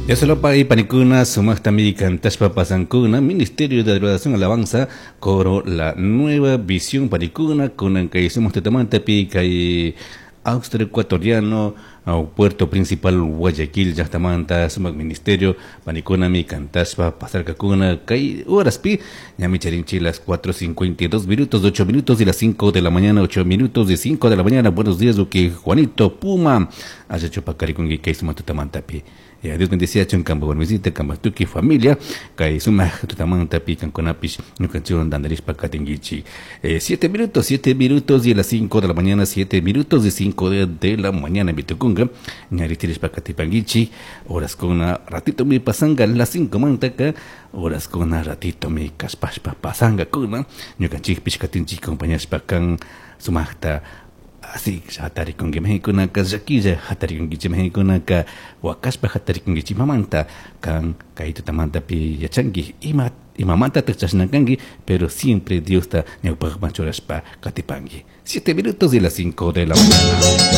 Yasolopa y panikuna sumaqtami kantashpa pasankuna Ministerio de Adoración Alabanza coro La Nueva Visión panikuna kunan kay sumaq tutamantapi kay Austro Ecuatoriano Puerto Principal Guayaquil llaqtamanta sumaq ministerio panikunami kantashpa pasarkakuna kay horaspi ñami charinchik las 4:52 minutos, 8 minutos y las 5 de la mañana, 8 minutos de 5 de la mañana. Buenos días, uki Juanito Puma. Allachu paqarikunki kay sumaq tutamantapi. Ya, Dios bendeciachun kanpa warmisita, kanpa tukuy familia, kay sumaq tutamantapi kankunapish ñukanchikwan tantarishpa katinkichik. 7 minutos, 7 minutos y a las 5 de la mañana, 7 minutos de 5 de la mañana mitukunka, ñarichirishpa katipankichik, horaskuna ratitomi pasanga las 5 mantaka, horaskuna ratitomi kashpashpa pasangakuna, ñukanchikpish katinchik acompañashpa kan sumaqta así hatarikunki mahikunaka llakilla hatarikunkichik mahikunaka wakashpa hatarikunkichik imamanta kan kay tutamantapi yachanki ima imamantataq chashna kanki, pero siempre Diosta ñawpaqman churashpa katipanki. 7 minutos de las 5 de la mañana.